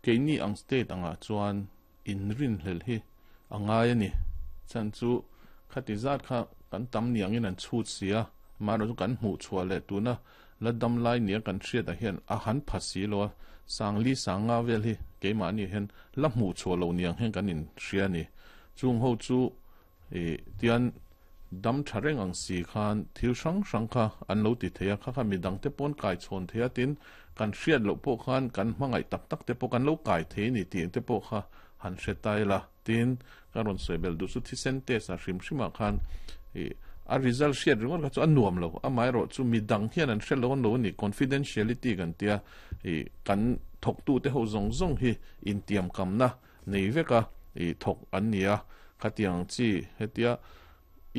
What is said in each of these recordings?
Keini ang state angah chuan inrinhlelh hi a ngai a ni. Chhan chu khati zat kha kan tam ni angin an chhut si a, amaherawhchu kan hmuh chhuah leh tuna la dam lai nia kan hriatah hian a han pha si lo a, sangli sanga vel hi keimahni hian la hmuh chhuah lo niang hian kan inhria a ni. Chung ho chu I tian dam tha reng ang si khan thil hrang hrang kha an lo ti thei a, kha kha midang te pawn kai chhawn thei a, tin kan hriat loh pawh khan kan hmangaih tak tak te pawh kan lo kai thei a ni tih te pawh kha han hre ta ila. Tin, ka rawn sawi belh duh chu thisen test ah hrim hrim ah khan i a result hriat ringawt kha chu a nuam lo, amaherawh chu midang hian an hre lo an lo a ni, confidentiality kan tia i kan thawktu te ho zawng zawng hi intiamkamna nei vek a, i thawk an ni a, khatiang chi hetia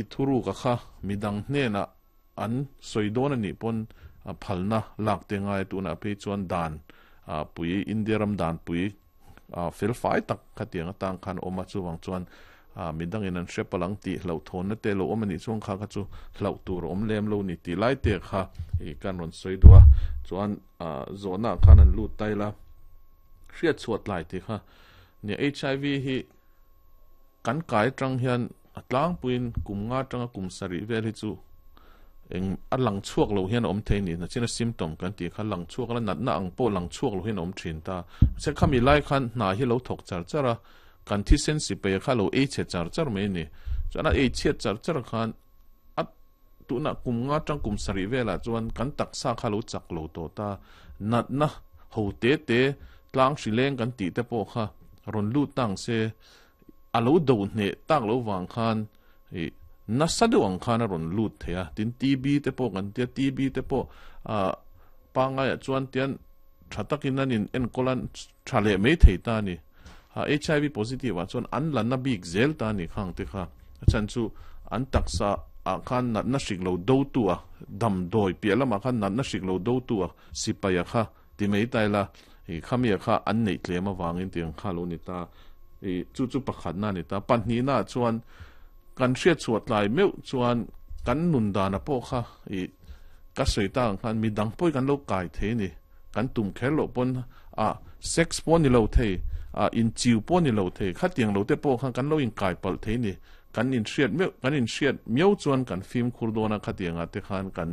i thuruka kha midang hnenah an sawi dawn a nih pawn phalna lak te ngai a, tunah phei chuan dan pui India ram dan pui fel fai tak khatiang atang khan a awm a, chuvang chuan midangin an hre palh ang tih hlauhthawnna te lo awm a nih chuan kha kha chu hlauh tur a awm lem lo ni tih lai te kha i kan rawn sawi duh a, chuan zawhna ah khan an lut ta ila. Hriat chhuah tlai tih kha nia HIV hi kan kai atang hian a tlangpuiin kum nga atanga kum sarih vel hi chu eng a lang chhuak lo hian a awm thei ni nachina symptom kan tih kha lang chhuak la natna ang pawh lang chhuak lo hian a awm thin ta mahse khami lai khan hna hi lo thawk char char a kan thisen sipai kha lo ei chhe char char mai a ni chuan a ei chhiat char char khan a Tunah kum nga tang kum sarih velah chuan kan taksa kha lo chak lo tawh ta, natna ho te te tlang hri leng kan tih te pawh kha rawn lut ta ang se, a lo do hneh tak lo vang khan ih nasa deuh ang khan a rawn lut thei a, tin TB te pawh kan tia, TB te pawh ah pangaiah chuan tian tha takin an in enkawl a tha leh mai thei ta a ni. HIV positive ah chuan an la na bik zel ta a ni khang te kha. A chhan chu an taksa ah khan natna hrik lo do tu a, damdawi piah lamah khan natna hrik lo do tu a sipai a kha ti mai ta ila i khami a kha an neih tlem avangin tiang kha lo ni ta. I chu chu pakhatna a ni ta. Pahnihna ah chuan kan hriat chhuah tlai meuh chuan kan nun dana pawh kha i ka sawi tak ang khan midang pawh hi kan lo kai thei a ni. Kan tum kher loh pawn a sex pawh ni lo thei, a inchiu pawh ni lo thei, khatiang lo te pawh khan kan lo inkai palh thei ni. Kan inhriat meuh, kan inhriat miau chuan kan fimkhur dawn a, khatiang ah te khan kan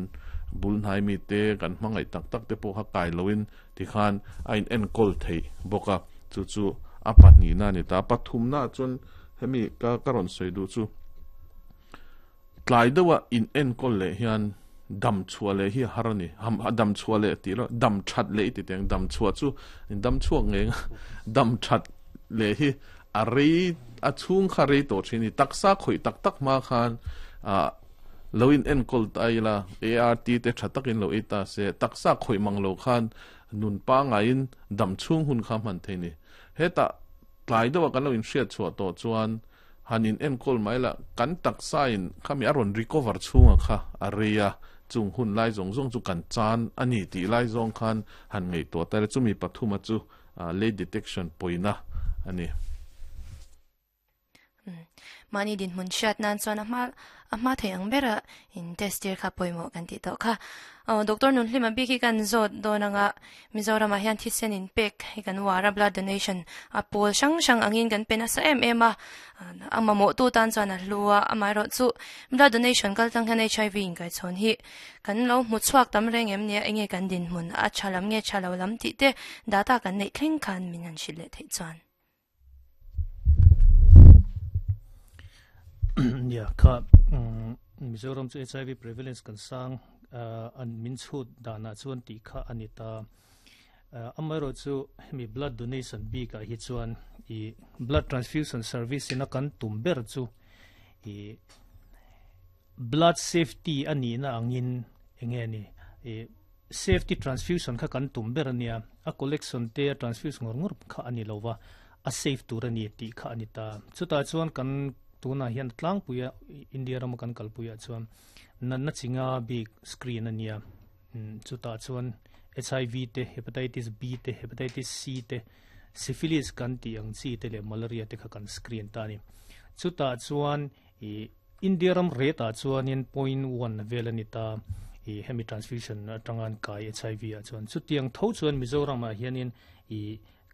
bul hnai mi te, kan hmangaih tak tak te pawh kha kai loin tikhan a in enkawl theih bawk a, chu chu a pahnihna a ni ta. Pathumna ah chuan hemi ka ka rawn sawi duh chu, Tlai deuha in enkawl leh hian dam chhuah leh hi a har a ni. A dam chhuah leh tih lo, dam that leh i ti teng. Dam chhuah chu in dam chhuak ngei ang a, dam that leh hi a rei, a chhung kha rei tawh thin a ni. Taksa khawih tak tak hma khan ah lo in enkawl ta ila, ART te tha takin lo ei ta se, taksa khawih mang lo khan nun pangaiin dam chhung hun kha hman thei a ni. Hetah tlai deuha kan lo inhriat chhuah tawh chuan Han in enkawl mai la, kan taksa in khami a rawn recover chhunga kha a rei a, chung hun lai zawng zawng chu kan chan a ni tih lai zawng khan han ngaihtuah ta ila, chumi pathuma chu late detection pawina a ni. Mahni dinhmun hriat nan chuan a hma a hma thei ang bera in test tir kha pawimawh kan tih tawh kha. Aw Doctor Nunhlima bik hi kan zawt dawn anga Mizoramah hian thisen in pek hi kan uar a, blood donation a pawl hrang hrang angin kan pe nasa em em a, a mamawh tu tan chuan a hlu a, amaherawh chu blood donation kal tlang hian HIV inkaichhawn hi kan lo hmu chhuak tam reng em nia, enge kan dinhmun a tha lam nge tha lo lam tih te data kan neih thleng khan min han hrilh leh theih chuan. Nia kha Mizoram chu HIV prevalence kan sang an min chhut danah chuan tih kha a ni ta. Amaherawh chu hemi blood donation bikah hi chuan i blood transfusion service ina kan tum ber chu i blood safety a nihna angin enge ni i Safety transfusion kha kan tum ber a nia, a collection te a transfuse ngawr ngawr kha a ni lo va, a safe tur a ni tih kha a ni ta. Chutah chuan kan tunah hian tlangpuia India rama kan kalpuiah chuan natna chi nga bik screen a nia. Chutah chuan HIV te, Hepatitis B te, Hepatitis C te, Syphilis kan tih ang chi te leh Malaria te kha kan screen ta a ni. Chutah chuan I India ram rate ah chuanin 0.1 vel a ni ta i hemi transfusion atanga an kai HIV ah chuan. Chutiang tho chuan Mizoram ah hianin i.